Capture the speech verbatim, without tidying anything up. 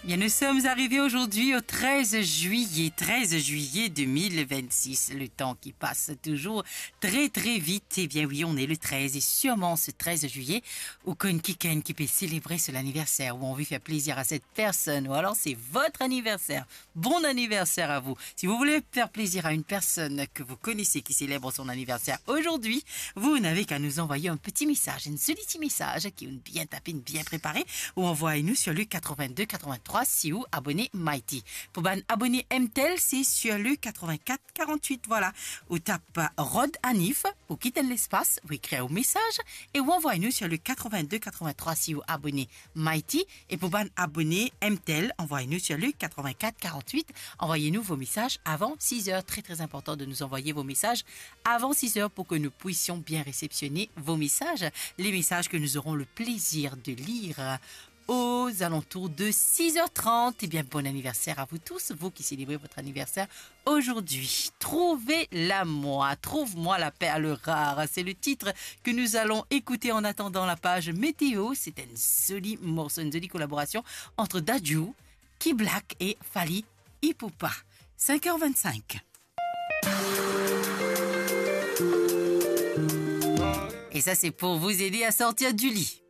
Bien, nous sommes arrivés aujourd'hui au treize juillet, treize juillet deux mille vingt-six. Le temps qui passe toujours très, très vite. Eh bien oui, on est le treize et sûrement ce treize juillet, ou konn kikenn ki pe célébrer son anniversaire, ou anvi fer plezir à cette personne, ou alors c'est votre anniversaire. Bon anniversaire à vous. Si vous voulez faire plaisir à une personne que vous connaissez qui célèbre son anniversaire aujourd'hui, vous n'avez qu'à nous envoyer un petit message, enn zoli ti mesaz ki ou'nn bien tape, bien préparé, ou envoyez-nous sur le quatre-vingt-deux quatre-vingt-trois si ou abonné Mighty. Pou bann abonné M T L, c'est sur le quatre-vingt-quatre quarante-huit, voilà. Ou tap Rod Anif, ou kit enn lespas, ou ekrir ou mesaz, e ou envoyez-nous sur le quatre-vingt-deux quatre-vingt-trois si ou abonné Mighty. Et pour bann abonné M T L, envoyez-nous sur le quatre-vingt-quatre quarante-huit. Envoyez-nous vos messages avant six heures. Très, très important de nous envoyer vos messages avant six heures pour que nous puissions bien réceptionner vos messages. Les messages que nous aurons le plaisir de lire aux alentours de six heures trente. Eh bien, bon anniversaire à vous tous, vous qui célébrez votre anniversaire aujourd'hui. Trouve-la-moi, trouve-moi la perle rare. C'est le titre que nous allons écouter en attendant la page météo. C'est un joli morceau, une jolie collaboration entre Dadju, Key Black et Fally Ipupa. Cinq heures vingt-cinq. Et ça, c'est pour vous aider à sortir du lit.